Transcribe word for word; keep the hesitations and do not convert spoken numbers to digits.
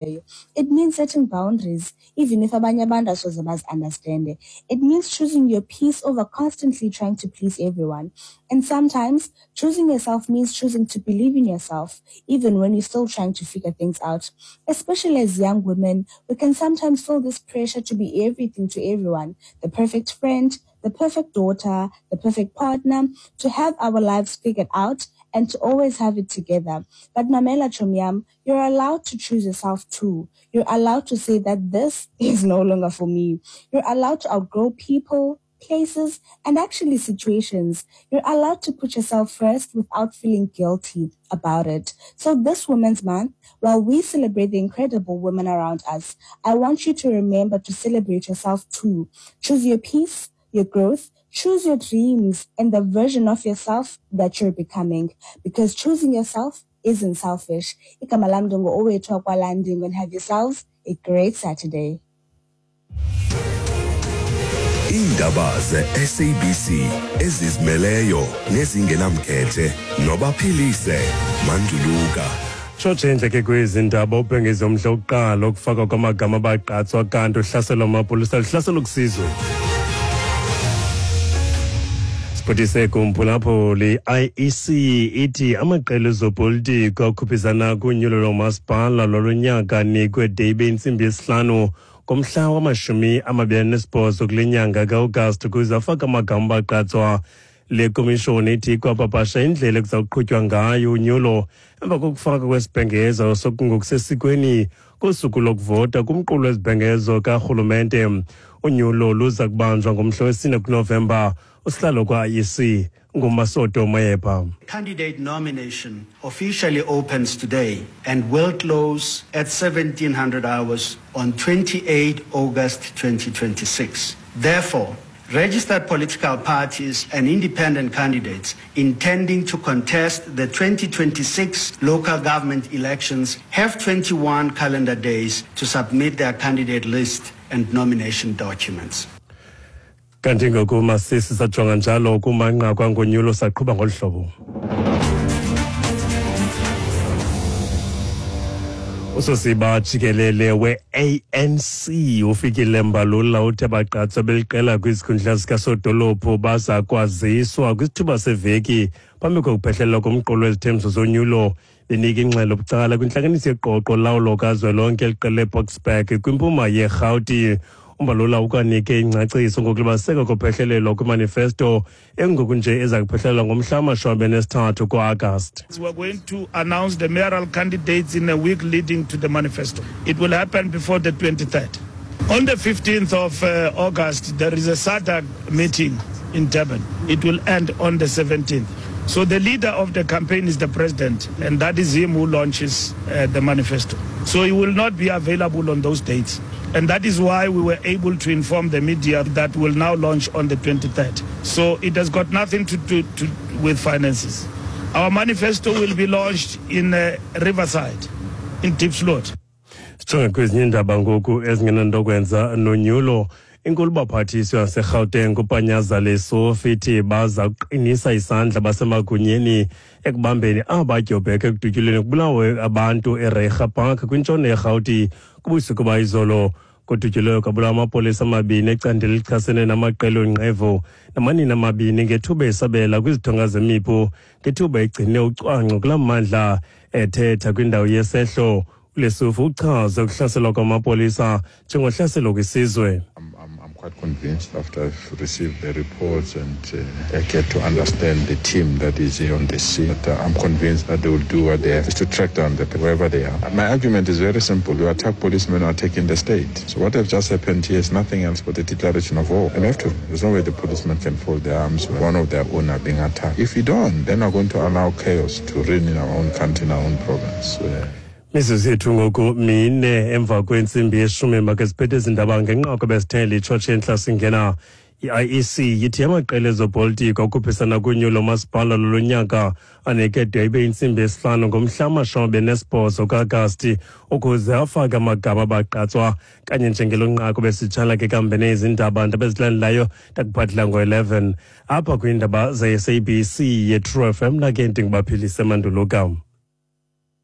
It means setting boundaries, even if abanye abantu asoze bazi-understande. It means choosing your peace over constantly trying to please everyone. And sometimes choosing yourself means choosing to believe in yourself, even when you're still trying to figure things out. Especially as young women, we can sometimes feel this pressure to be everything to everyone, the perfect friend, the perfect daughter, the perfect partner, to have our lives figured out and to always have it together. But mamela chomi yam, you're allowed to choose yourself too. You're allowed to say that this is no longer for me. You're allowed to outgrow people, places, and actually situations. You're allowed to put yourself first without feeling guilty about it. So this Women's Month, while we celebrate the incredible women around us, I want you to remember to celebrate yourself too. Choose your peace, your growth, choose your dreams and the version of yourself that you're becoming, because choosing yourself isn't selfish. Igama lam ndingu-Owethu wakwaLandingo, and have yourselves a great Saturday. Iindaba ze-S A B C ezizimeleyo nezingenamkhethe noBaphilise Manduluka. Tshotshe ke kwezi ndaba: ubhengeze umhla wokuqala ukufakwa kwamagama abagqatswa kanti uhlaselo lwamapolisa luhlaselo kusizwe. Siphuthise kumphulaphuli: I E C ithi amaqela ezopolitiko akhuphisana kunyulo lomasipala lwalo nyaka anikwe de ibe intsimbi yesihlanu ngomhla wamashumi amabini anesibhozo kule nyanga ka-Agasti ukuze afake amagama abagqatswa. Le komishoni ithi ikwapapasha indlela ekuza kuqhutywa ngayo unyulo emva kokufaka kwesibhengezo sokungokusesikweni kosuku lokuvota kumqulu wezibhengezo karhulumente. Unyulo luza kubanjwa ngomhla wesine kuNovemba. Usihlalo kwa-I E C nguMasoto Moepha. Candidate nomination officially opens today and will close at seventeen hundred hours on twenty-eight August twenty twenty-six. Therefore, registered political parties and independent candidates intending to contest the twenty twenty-six local government elections have twenty-one calendar days to submit their candidate list and nomination documents. Kanti ngoku masisi sajonga njalo kumanqaku angonyulo, saqhuba ngolu hlobo. Usosiba jikelele we-A N C uFikile Mbalula uthe abagqatswa beliqela kwizikhundla zikasodolophu baza kwaziswa kwisithuba seveki phambi kokuphehlelelwa komqulu wezithembiso zonyulo. Benika ingxelo bucala kwintlanganiso yeqoqo lawulo kazwelonke eliqele eBoksburg kwimpuma yeRhawuti, uMbalula ukwanike ingcaciso ngokulibaziseka kophehlelelwa kwimanifesto engoku nje eza kuphehlelelwa ngomhla wamashumi amabini anesithathu ku-Agasti. We're going to announce the mayoral candidates in a week leading to the manifesto. It will happen before the twenty-third. On the fifteenth of uh, August, there is a SADC meeting in Durban. It will end on the seventeenth. So the leader of the campaign is the president, and that is him who launches uh, the manifesto. So he will not be available on those dates. And that is why we were able to inform the media that will now launch on the twenty-third. So it has got nothing to do to, with finances. Our manifesto will be launched in uh, Riverside, in Diepsloot. Sijonge kwezinye iindaba ngoku ezingenanto kwenza nonyulo. Inkulubaphathiswa yaseRhawuteng uPanyaza Lesufi ithi baza kuqinisa isandla basemagunyeni ekubambeni abadyobheke ekudutyulweni kubulawe abantu eReiger Park kwintshona yeRhawuti kubusuku bayizolo. Kudutyulwe kwabulawa amapolisa amabini ecandelo elichasene namaqela onqevu namanina amabini ngethuba esabela kwizithonga zemipu ngethuba egcine ucwangco kulaa mmandla. Ethetha kwindawo yesehlo, uLesufi uchaze ukuhlaselwa kwamapolisa njengohlaselo kwisizwe. I'm, I'm, I'm quite convinced after I've received the reports and uh, I get to understand the team that is here on the scene. That, uh, I'm convinced that they will do what they have to track down the wherever they are. My argument is very simple. You attack policemen, you are attacking the state. So what has just happened here is nothing else but a declaration of war. And we have to. There's no way the policemen can fold their arms when one of their own are being attacked. If we don't, then we're going to allow chaos to reign in our own country, in our own province. Uh, Mizuzu yethu ngoku mine emva kwentsimbi yeshumi. Make siphethe ezi ndaba ngenqaku besithe litshotshe entla singena. I-I E C yithi amaqela ezopolitiko akhuphisana kunyulo masipala lolo nyaka anikede ibe intsimbi yesihlanu ngomhla wamashumi amabini nesibhozo ka-Agasti ukuze afake amagama abagqatswa. Kanye njengelo nqaku besitshala ke kambe nezindaba ndabezilandelayo ndakuphathela ngo-eleven apha kwiindaba ze-S A B C ye-True F M. Nake ndinguBaphilise Manduluka.